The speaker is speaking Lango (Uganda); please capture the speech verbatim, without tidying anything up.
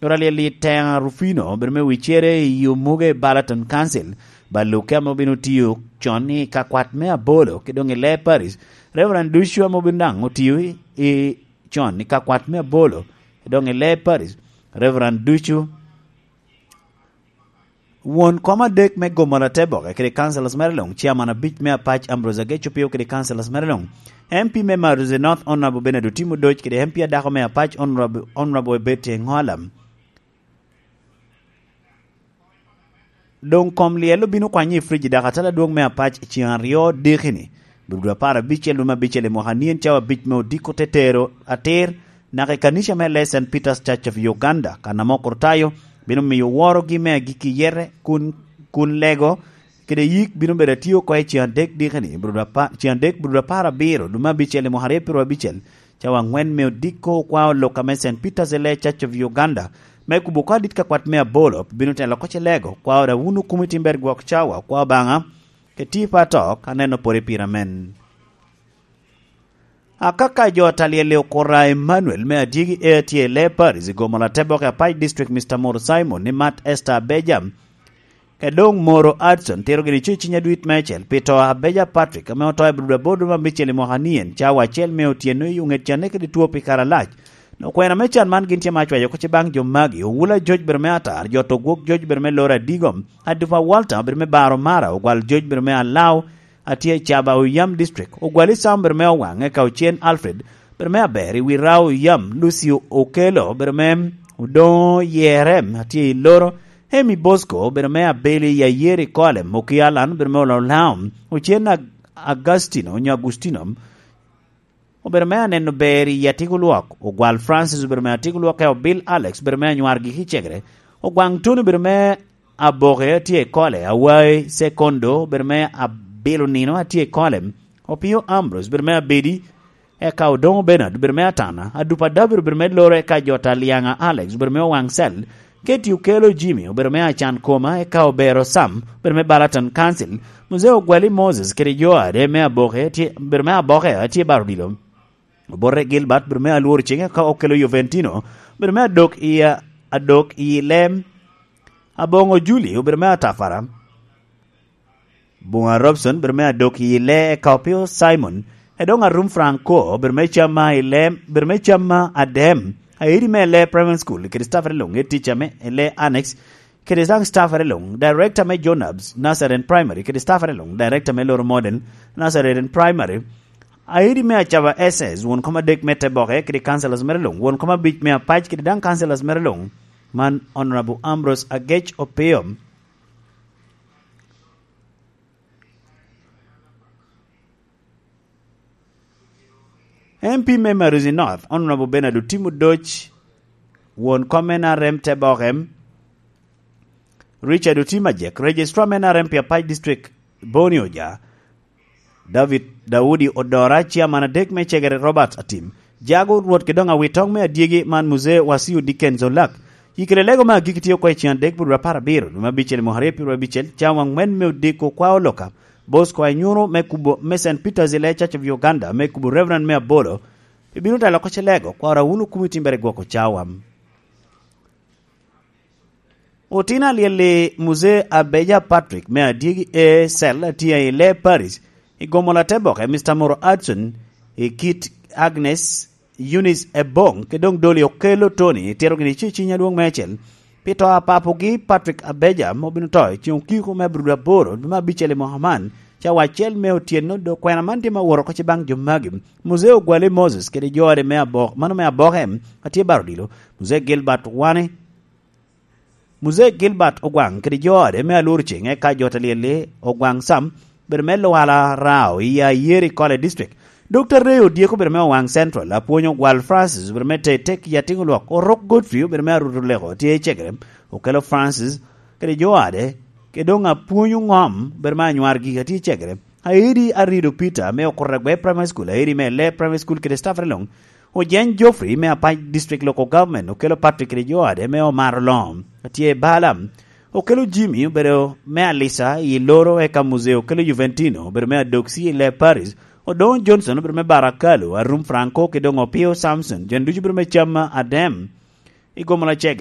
Coro alyel i Tenga Rufino, obedo me wicere i Omuge Balaton Council, Baluke ame obino tiyo con i kakwat me Abolo, ki doŋ i Lee Parish, Reverend Ducu ame obino daŋ otiyo i, i con i kakwat me Abolo, ki doŋ i Lee Parish, Reverend Ducu. Won kom adek me Gomola Teboke kede councillors mere luŋ, chairman abic me Apac Ambrose Ageco Pio kede councillors mere luŋ, M P me Maruzi North Honorable Bernard Otim Odoc kede M P adako me Apac Honorable, Honorable Betty Eŋolam. Doŋ kom lyel obino kwanye i fridge dok atala adwoŋ me Apac i ceŋ aryo diki-ni, Burudu apar abicel lume abicel i mwaka anien cawa abic me odiko te tero atir naka i kanica me Lee Saint Peter's Church of Uganda, kan ame okor tayo bino miyo worogi me agikki yete kun, kun lego kede yik bino bedo atio oko i ceŋ adek diki-ni, Burudu apa-, ceŋ adek Burudu apar abiro lume abicel i mwaka aryo pyeraryo abicel, cawa aŋwen me odiko okwao lok ame Saint Peter's Lee Church of Uganda, me kubo oko adit kakwat me Abolo, bino telo oko ce lego, kwao da wunu kumi timber gwok cawa, kwao Obaŋa, ke tipo atok, aneno pwod i pira men. Akaka jo a talyel i okura Emmanuel me adyegi e atye i Lee Parish i Gomola Teboke Apac District, Mister Moro Simon, ni Mat Esther Abeja, ke doŋ Moro Adson tero gini co i ciny adwit meicel pi to Abeja Patrick ame oto i Burudu aboro lume abicel i mwaka anien, cawa acel me otyeno i oŋet canne kede two pi kare alac. Okwena me can man gin tye ma acwayo oko ce baŋ jo magi, Owula Joc bere me Atar, Jot Ogwok Joc bere me Lora Adigom, Adupa Walter bere me Baro Mara, Ogwal Joc bere me Alao, atye i Caba Oyam District, Ogwal Isam bere me Owaŋ, eka Ocen Alfred bere me Aber, i wi Rao Oyam, Lucio Okelo bere me Odoŋo Yerem, atye i Loro, Emi Bosco bere me Abeli, Yayeri Kolem, Oki Alan bere me Ololaom, Ocen Ag-, Agustino, onyo Agustino, obedo me Aneno Ber i Atiko Lwok, Ogwal Francis obedo me Atiko Lwok, eka Obil Alex obedo me Anywar Giki Cegere, Ogwaŋ Tony obedo me Aboke atye i Kole, Awai Sekondo obedo me Abilo Nino atye i Kole, Opio Ambrose obedo me Abedi, eka Odoŋo Bernard obedo me Atana, Adupa David obedo me Loro, eka Jota Lyaŋa Alex obedo me Owaŋ Cel, Keti Okelo Jimmy obedo me Acan Koma, eka Obero Sam obedo me Balaton Council, Muzee Ogwali Moses kede jo ade me Aboke tye, obedo me Aboke atye baro odilo, Obote Gilbert obedo me Alwor Ceng, eka Okelo Juventino obedo me Adok i, Adok i Lem, Aboŋo Julie obedo me Atafara, Buŋa Robson bere me Adok i Lee, eka Opio Simon, Edoŋ Arum Franco bere me Camma i Lee, bere me Camma Adem, Airi me Lee Primary School kede staff ere luŋ, head teacher me Lee Annex kede daŋ staff ere luŋ, director me Jonabs Nazarene Primary kede staff ere luŋ, director me Loro Modern Nazarene Primary, Airi me Acaba S S, won kom adek me Teboke kede councillors mere luŋ, won kom abic me Apac kede daŋ councillors mere luŋ. Man Honorable Ambrose Agec Opio. M P me Maruzi North, Honorable Bernard Otim Odoc, won kom N R M Teboke, Richard Otim Ajek, Registrar me N R M pi Apac District, Boni Oja, David Daudi Odora, Chairman adek me Cegere Robert Atim, Jago Rwot Kidong Awitoŋ me Adyegi man Muzee Wasiu Dickens Olak, Yikere lego me agikki tye oko i ceŋ adek pi dwe apar abiro, dwe me abicel i mwaka aryo pyeraryo abicel, cawa aŋwen me odiko kwa oloka. Bosco Anyuru me kubo me Saint Peter's i Lee Church of Uganda me kubo Reverend me Abolo, ibino telo oko ce lego, kwaro awun okumi timbere gwoko cawa. Otino alyel-li Muzee Abeja Patrick me Adyegi A Cell atye i Lee Parish, i Gomola Teboke, Mister Moro Adson, i kit Agnes Eunice Ebong, kede doŋ Doli Okello Tony, itito gini ci i ciny adwoŋ meicel pi to a papogi Patrick Abeja, ma obino to i ceŋ okiko me abiro aboro, dwe me abicel i mwaka man, cawa acel me otyeno, dok kwena man tye ma wot oko ce baŋ jo magi. Muzee Ogwale Moses kede jo ode me Abok-, mano me Aboke, atye baro odilo. Muzee Gilbert Wane, Muzee Gilbert Ogwaŋ kede jo ode me Alur Ceŋ, eka jo te lyel-li Ogwaŋ Sam, obedo me Lwala Rao i Ayeri Kole District. Dokta Ray Odyeko obedo me Owaŋ Central, Apwony Ogwal Francis obedo me Tetek i Atiŋ Olwok, Orok Godfrey obedo me Aruto Leko tye i Cegere, Okello Francis kede jo ode, kede doŋ Apwony Oŋom obedo me Anywar Gigi tye i Cegere. Aidi Arido Peter me Okuragwe Primary School, Aidi me Lee Primary School kede staff ere luŋ. Ojeny Geoffrey me Apac District Local Government, Okello Patrick kede jo ade me Omar Olom, atye i Balaam. Okello Jimmy obedo me Alisa i Loro, eka Muzee Okello Juventino obedo me Adoksi i Lee Paris. Odoŋo Johnson obedo me Barakalo, Arum Franco kede doŋ Opio Samson, jo ducu obedo me Camma Adem. I Gomola Cegere.